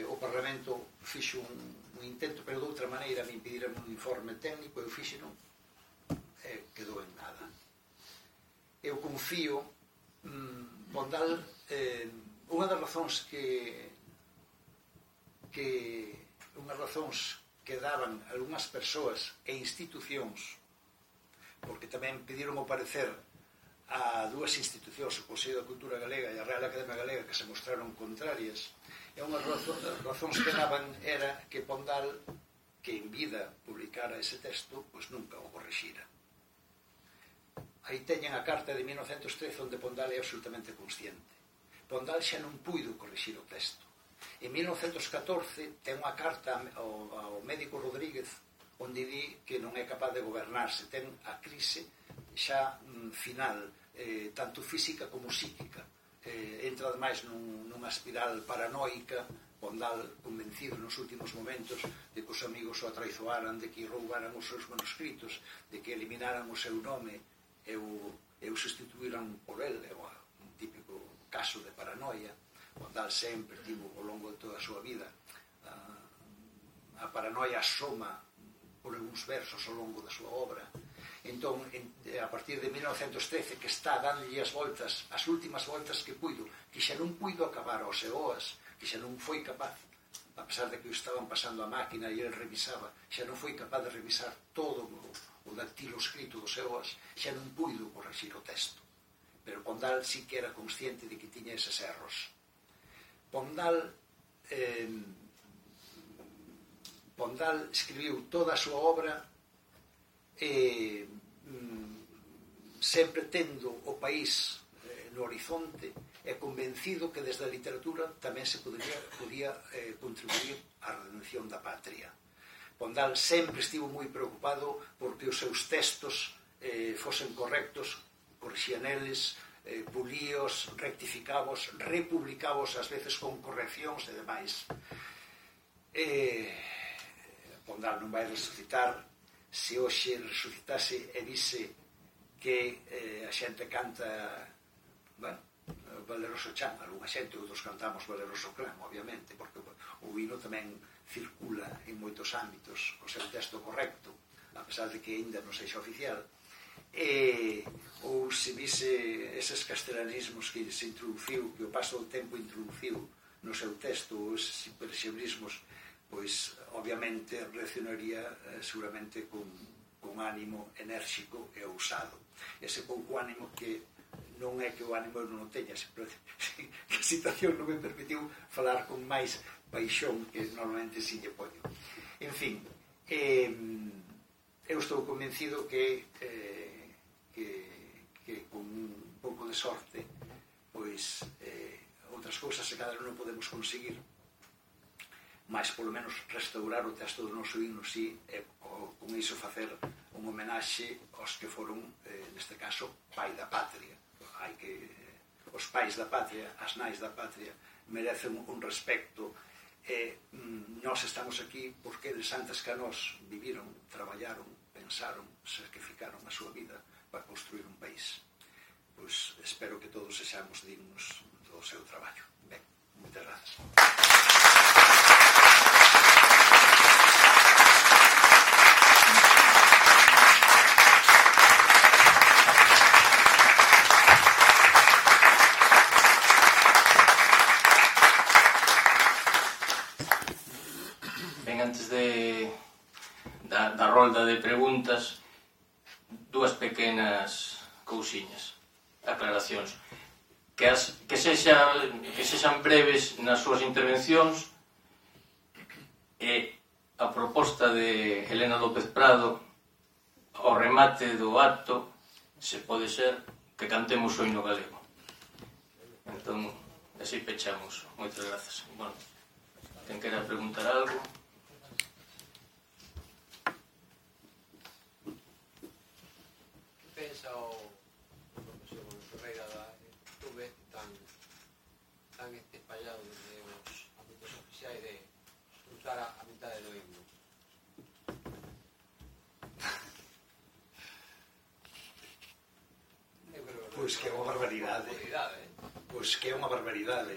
o Parlamento fixo un intento, pero de outra maneira me impediran un informe técnico, eu fixeno e quedou en nada. Eu confío Pondal, unha das razóns que daban algunhas persoas e institucións, porque tamén pediron o parecer a dúas institucións, o Consello da Cultura Galega e a Real Academia Galega, que se mostraron contrarias, e unhas razóns que daban era que Pondal, que en vida publicara ese texto, pois nunca o corrixira. Aí teñen a carta de 1913 onde Pondal é absolutamente consciente. Pondal xa non puido corrixir o texto. En 1914 ten unha carta ao médico Rodríguez onde di que non é capaz de gobernarse, ten a crise xa final, tanto física como psíquica. Entra ademais nunha espiral paranoica, Pondal convencido nos últimos momentos de que os amigos o atraizoaran, de que roubaran os seus manuscritos, de que eliminaran o seu nome e o sustituíran por el. É un típico caso de paranoia. Pondal sempre tivo ao longo de toda a súa vida a paranoia asoma por algúns versos ao longo da súa obra. Entón, a partir de 1913, que está dándolle as voltas, as últimas voltas que puido, que xa non puido acabar os EOAS, que xa non foi capaz, a pesar de que o estaban pasando a máquina e ele revisaba, xa non foi capaz de revisar todo o dactilo escrito dos EOAS, xa non puido corregir o texto. Pero Pondal sí que era consciente de que tiña eses erros. Pondal escribiu toda a súa obra sempre tendo o país no horizonte e convencido que desde a literatura tamén se podía contribuir á redención da patria. Pondal sempre estivo moi preocupado porque os seus textos fosen correctos, corrixía neles, pulíos, rectificabos, republicabos ás veces con correccións e demais. Pondal non vai resucitar. Se hoxe resucitase e vise que a xente canta Valeroso Chan, algunha xente, outros cantamos Valeroso Clan, obviamente, porque o hino tamén circula en moitos ámbitos co seu texto correcto, a pesar de que ainda non sexa oficial, ou se vise eses castelanismos que se introduciu, que o paso do tempo introduciu no seu texto, ou eses impresionismos, pois obviamente reaccionaría seguramente con ánimo enérxico e ousado. Ese pouco ánimo que non é que o ánimo non o teña, que a situación non me permitiu falar con máis paixón que normalmente si lle poño. En fin, eu estou convencido que con un pouco de sorte pois outras cousas se cada non podemos conseguir, mas polo menos restaurar o texto do noso himno si, e con iso facer un homenaxe aos que foron, neste caso, pai da patria. Os pais da patria, as nais da patria, merecen un respecto, e nós estamos aquí porque eles antes que a nós viviron, traballaron, pensaron, sacrificaron a súa vida para construir un país. Pois espero que todos sexamos dignos do seu traballo. Ben, moitas grazas. Antes da rolda de preguntas, dúas pequenas cousiñas, aclaracións, que sexan breves nas súas intervencións, e a proposta de Helena López Prado ao remate do acto, se pode ser que cantemos o himno galego. Entón, así pechamos. Moitas grazas. Bueno. Ten que preguntar algo. Que pensa o profesor Ferreira da YouTube tan espallado desde os ámbitos oficiais de cruzar a mitade do himno? Pois que é unha barbaridade. Pois que é unha barbaridade.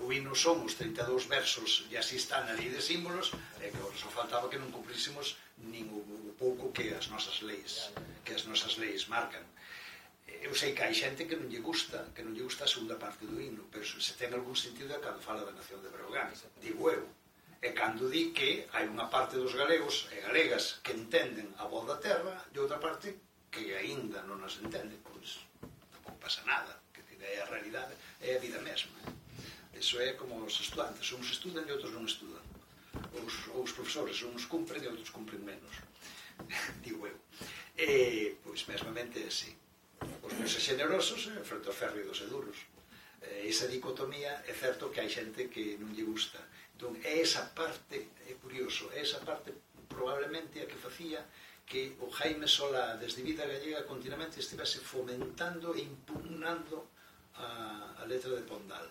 O himno son os 32 versos e así está na lei de símbolos, e que só faltaba que non cumprísemos nin o pouco que as nosas leis marcan. Eu sei que hai xente que non lle gusta a segunda parte do himno, pero se ten algún sentido é cando fala da nación de Breogán, digo eu. E cando di que hai unha parte dos galegos e galegas que entenden a voz da terra e outra parte que aínda non as entende, pois tampouco pasa nada, que é a realidade, é a vida mesma. Iso é como os estudantes, uns estudan e outros non estudan. Os profesores, uns cumpren e outros cumpren menos, digo eu. Pois mesmamente é así. Os meus xenerosos frente aos férridos e duros. Esa dicotomía é certo que hai xente que non lle gusta. Entón, é esa parte, é curioso, é esa parte probablemente a que facía que o Jaime Solá desde Vida Gallega continuamente estivese fomentando e impugnando a letra de Pondal.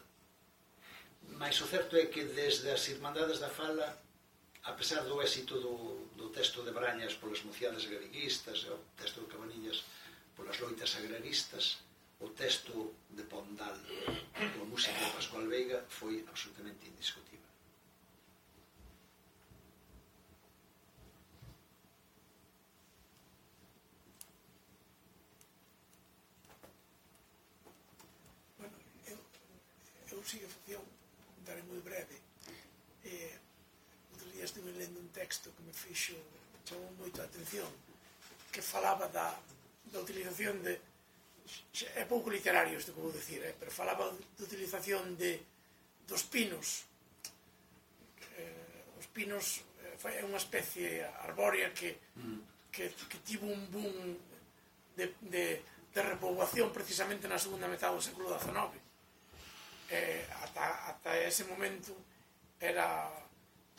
Mais o certo é que desde as Irmandades da Fala, a pesar do éxito do texto de Brañas polas mociades galeguistas e o texto de Cabanillas polas loitas agraristas, o texto de Pondal coa música de Pascual Veiga foi absolutamente indiscutible. Bueno, eu sigo a facción, comentaré moi breve. Outro día estive lendo un texto que me chamou moito a atención, que falaba da utilización de, é pouco literario isto que vou dicir, pero falaba da utilización dos pinos. Os pinos é unha especie arbórea que tivo un boom de repoboación precisamente na segunda metade do século XIX. Ata ese momento era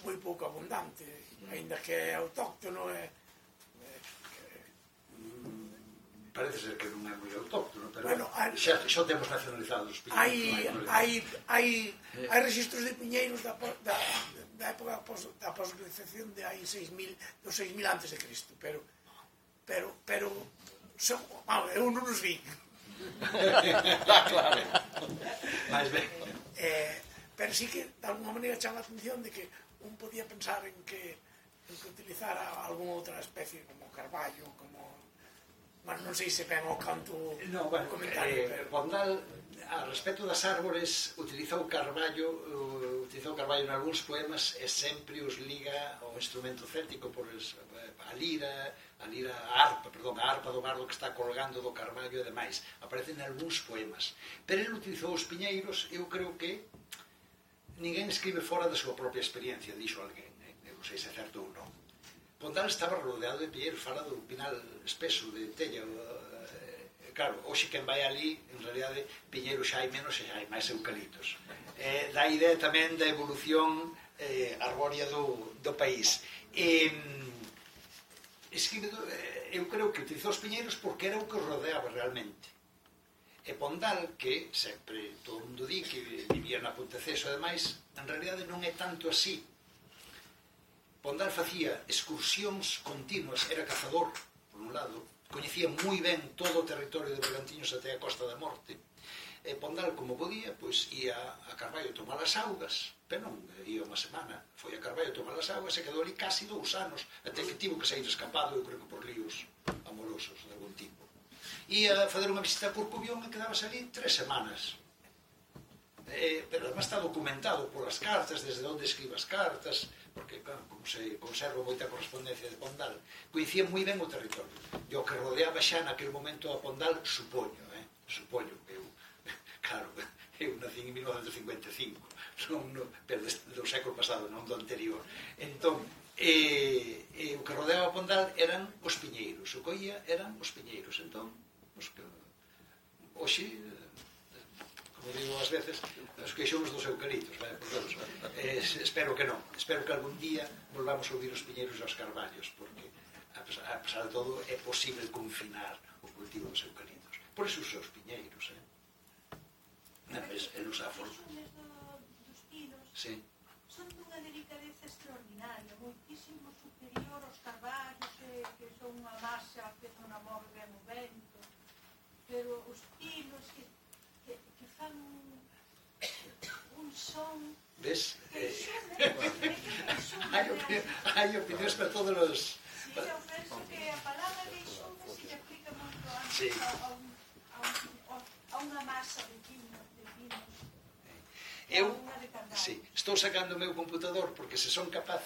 moi pouco abundante, aínda que é autóctono. Parece ser que non é moi autóctono, pero bueno, xa temos nacionalizados os piñeiros. Hai registros de piñeiros da época da posgleciación de hai 6.000 antes de Cristo, pero eu non os vi. Claro. Mais ben. Pero sí que de alguma maneira chama a atención de que un podía pensar en que utilizara algunha outra especie como carballo, como... Bueno, non sei se ven o canto comentario, pero... Pondal, a respecto das árbores, utilizou carballo en algúns poemas e sempre os liga ao instrumento céltico por a lira, a harpa do bardo que está colgando do carballo e demais. Aparecen en algúns poemas. Pero ele utilizou os piñeiros, eu creo que ninguén escribe fora da súa propia experiencia, dixo alguén, eu non sei se é certo ou non. Pondal estaba rodeado de piñeiros, fala do pinal espeso de Tella. Claro, hoxe quen vai ali, en realidade, piñeiros xa hai menos e xa hai máis eucaliptos. Dá idea tamén da evolución arbórea do país. Eu creo que utilizou os piñeiros porque era o que rodeaba realmente. E Pondal, que sempre todo o mundo di que vivía na Ponteceso e demais, en realidade non é tanto así. Pondal facía excursións continuas, era cazador, por un lado, coñecía moi ben todo o territorio de Bergantiños até a Costa da Morte. E Pondal, como podía, pois ia a Carballo tomar as augas, pero non ia unha semana, foi a Carballo tomar as augas e quedou ali casi 2 anos, até que tivo que sair escapado, eu creo que por ríos amorosos de algún tipo. Ia a fazer unha visita a Corcubión e quedabas ali 3 semanas. Pero además está documentado polas cartas, desde onde escribe as cartas, porque, claro, como se conserva moita correspondencia de Pondal, coñecía moi ben o territorio. E o que rodeaba xa naquele momento a Pondal, supoño, eu, claro, eu nací en 1955, pero do século pasado, non do anterior. Entón, o que rodeaba a Pondal eran os piñeiros, o que oía eran os piñeiros. Entón, hoxe, como como digo ás veces, os queixóns dos eucaliptos, espero que non, espero que algún día volvamos a ouvir os piñeiros e os carballos, porque a pesar de todo é posible confinar o cultivo dos eucaliptos. Por iso os seus piñeiros, el usa a forma. Dos pinos Sí. son dunha delicadeza extraordinaria, moitísimo superior aos carballos, que son unha masa que non a move ben o vento, pero os pinos que fan un son. Ves? Hai opinións para todos os... Sí, eu penso que a palabra queixume se aplica moito antes a unha masa de pinos. Eu estou sacando o meu computador porque se son capaz,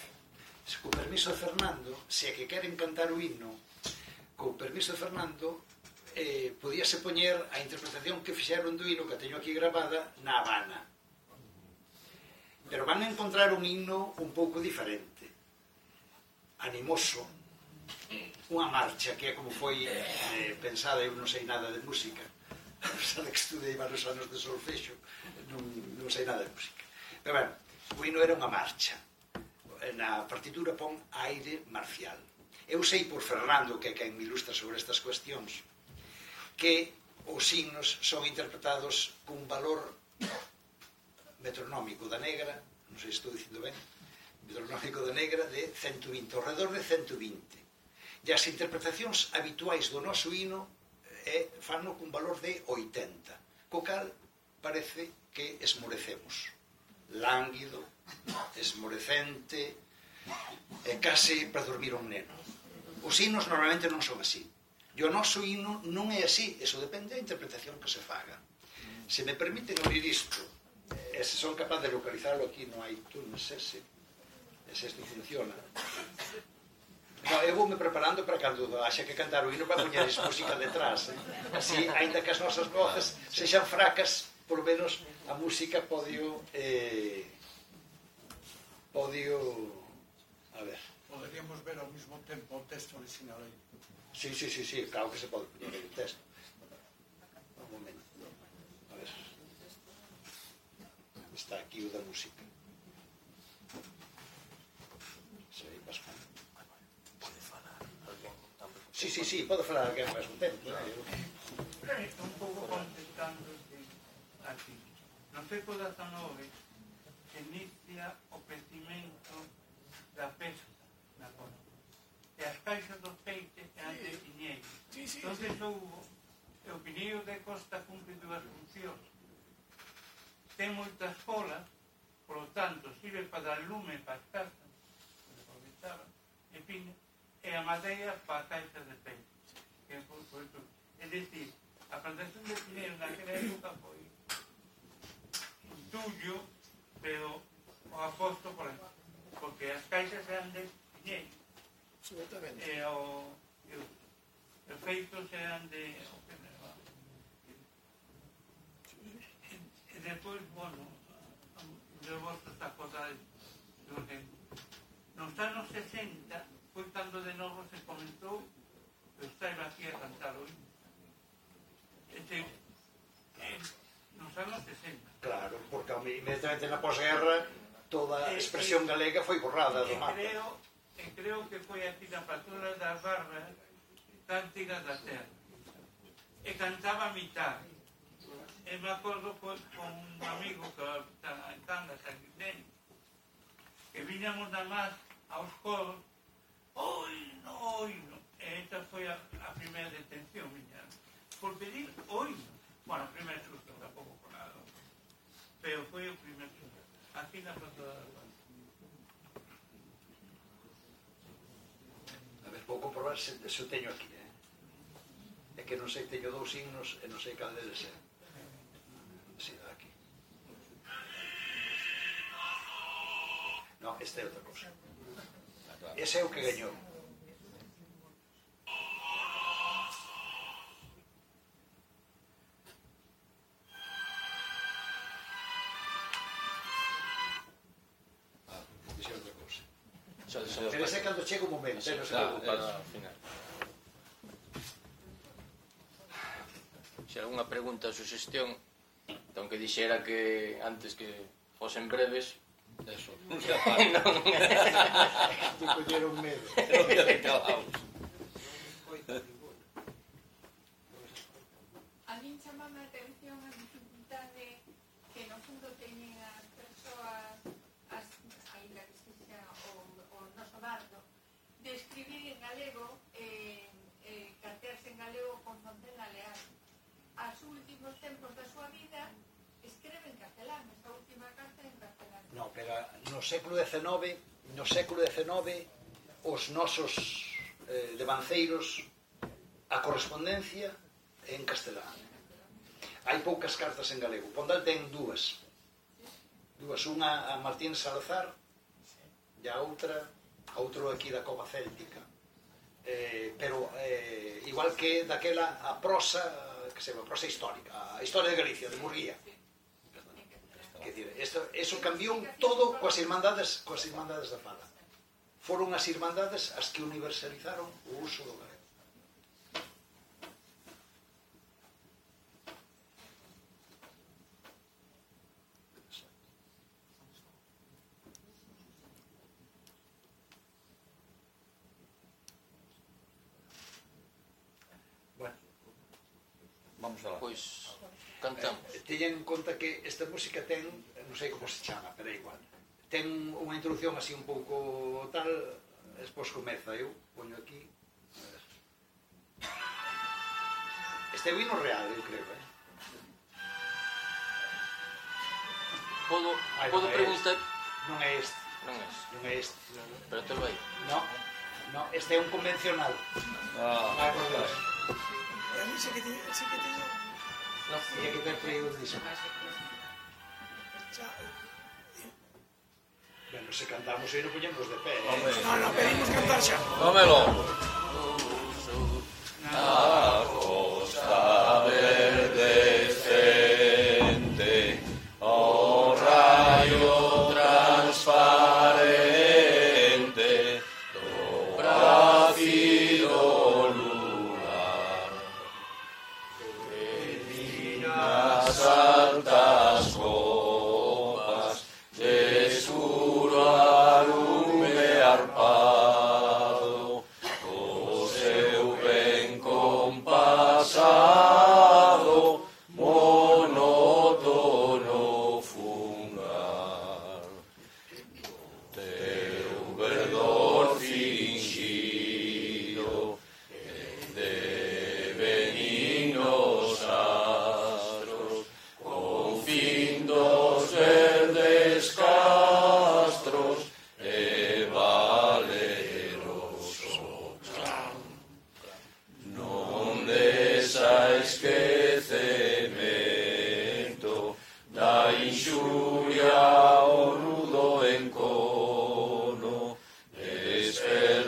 co permiso de Fernando, se é que queren cantar o himno, co permiso de Fernando, podíase poñer a interpretación que fixeron do himno, que teño aquí grabada, na Habana. Pero van a encontrar un himno un pouco diferente, animoso, unha marcha que é como foi pensada. Eu non sei nada de música, a pesar de que estudei varios anos de solfexo, non sei nada de música. Pero, bueno, o himno era unha marcha. Na partitura pon aire marcial. Eu sei por Fernando, que é quen me ilustra sobre estas cuestións, que os himnos son interpretados cun valor metronómico da negra, non sei se estou dicindo ben, metronómico da negra de 120, ao redor de 120. E as interpretacións habituais do noso himno fanno cun valor de 80, co cal parece que esmorecemos, lánguido, esmorecente, case para dormir un neno. Os himnos normalmente non son así, e o noso himno non é así, eso depende da interpretación que se faga. Se me permiten abrir isto, se son capaz de localizarlo aquí no iTunes, se isto funciona. No, eu vou me preparando para cando haxa que cantar o himno para poñer esa música detrás, así, ainda que as nosas voces sexan fracas, por lo menos a música podio a ver. Poderíamos ver ao mesmo tempo o texto original aí. Sí, claro que se pode poñer aí o texto. Un momento, a ver. Está aquí o da música. Sei bastante. Sí, pode falar alguén ao mesmo tempo. Un pouco contestando aquí. No século XIX se inicia o crecimento da pesca na costa. E as caixas dos peixes eran de piñeiros. Entonces o piñeiro de costa cumpre dúas funcións. Ten moitas folas, por lo tanto, sirve para dar lume para as casas, que se aprovechaban, e a madeira para caixas de peixe. É dicir, a plantación de piñeiro naquela época foi intuyo, pero o aposto porque as caixas eran de piñeiro. E os feitos eran de... E depois, bueno, de vosotros acordades nos anos 60 foi cando de novo se comentou que eu estaba aquí a cantar hoy. Nos anos 60. Claro, porque inmediatamente na posguerra toda a expresión galega foi borrada do mapa. Creo que foi aquí na Patrona das Barbas, Cántigas da Terra. E cantaba a mitad. E me acordo con un amigo que está en Cangas, aquí dentro, que viñamos nada máis aos coros, oino. E esta foi a primeira detención, miña. Por pedir oino. Bueno, o primer susto, tampouco con nada. Pero foi o primer susto. Aquí na Patrona das Barbas. A ver, vou comprobar se o teño aquí, É que non sei, teño dous himnos e non sei cal deles é. Si, aquí. Non, este é outra cosa. Ese é o que gañou. Ese é outra cosa. Pero ese é cando chega o momento, non se preocupa. Se alguna pregunta ou suxestión, Entón que dixera que antes que fosen breves, Eso, non se apaga. Te colleron medo. Non te calamos. A min chamame a atención a dificultade que no fundo teñen as persoas, ainda que sexa o noso bardo, de escribir en galego, cartearse en galego con Fontena Leal. Aos últimos tempos da súa vida escreve en castelán, esta última carta en castelán. No, pero no século XIX os nosos devanceiros a correspondencia en castelán. Hai poucas cartas en galego. Pondal ten dúas, unha a Martín Salazar e a outro aquí da Cova Céltica, pero igual que daquela a prosa, que se chama prosa histórica, a historia de Galicia, de Murguía. Quer dizer, eso cambiou todo coas irmandades da fala. Foron as irmandades as que universalizaron o uso do galego. Bueno, Vamos alá. pois cantamos. teñen en conta que esta música ten, non sei como se chama, pero é igual, ten unha introducción así un pouco tal, despois comeza, eu poño aquí. Este é o hino real, eu creo, Podo preguntar? Non é este, Non é, non é este. pero te vai. No, este é un convencional. Ah, Por Dios. E a mí sí que teño Tiña que ter traído un disco. xa, Bueno, se cantamos e non poñemos de pé, Hombre. no, pedimos cantar xa. Tómelo. A costa verdescente, o rayo transparente, do bracido lunar, nas altas copas de escuro alume arpado, o seu ben compasado, monótono fungar. Teu verdor fingido, de benignos astros, con fin dos verdes castros, e valeroso clan. Non desa esquecemento da inxuria o nudo encono,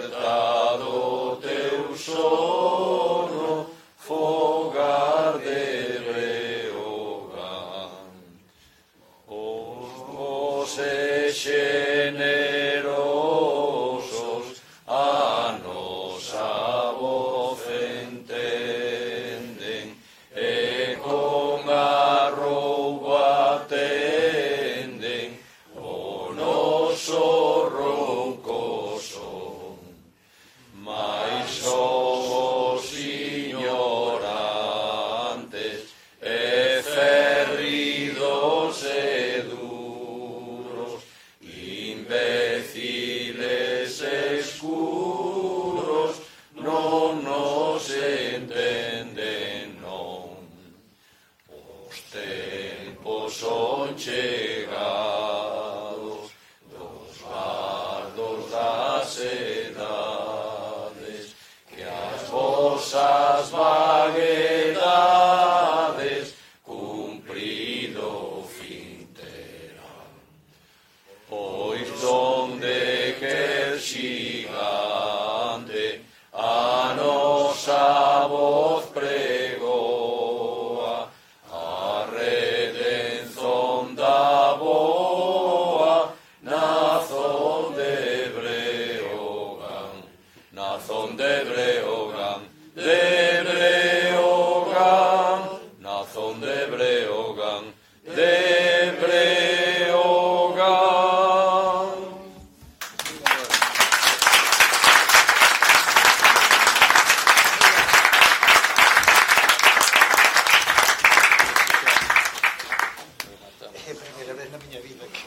despertado teu sono, fogar de Breogán. Os generosos a nosa voz entenden, e con arroubo atenden o noso ronco son. Mais somos ignorantes e ferridos e duros, imbéciles escuros, non nos entenden, non. Os tempos son chegados dos bardos das edades, que as vosas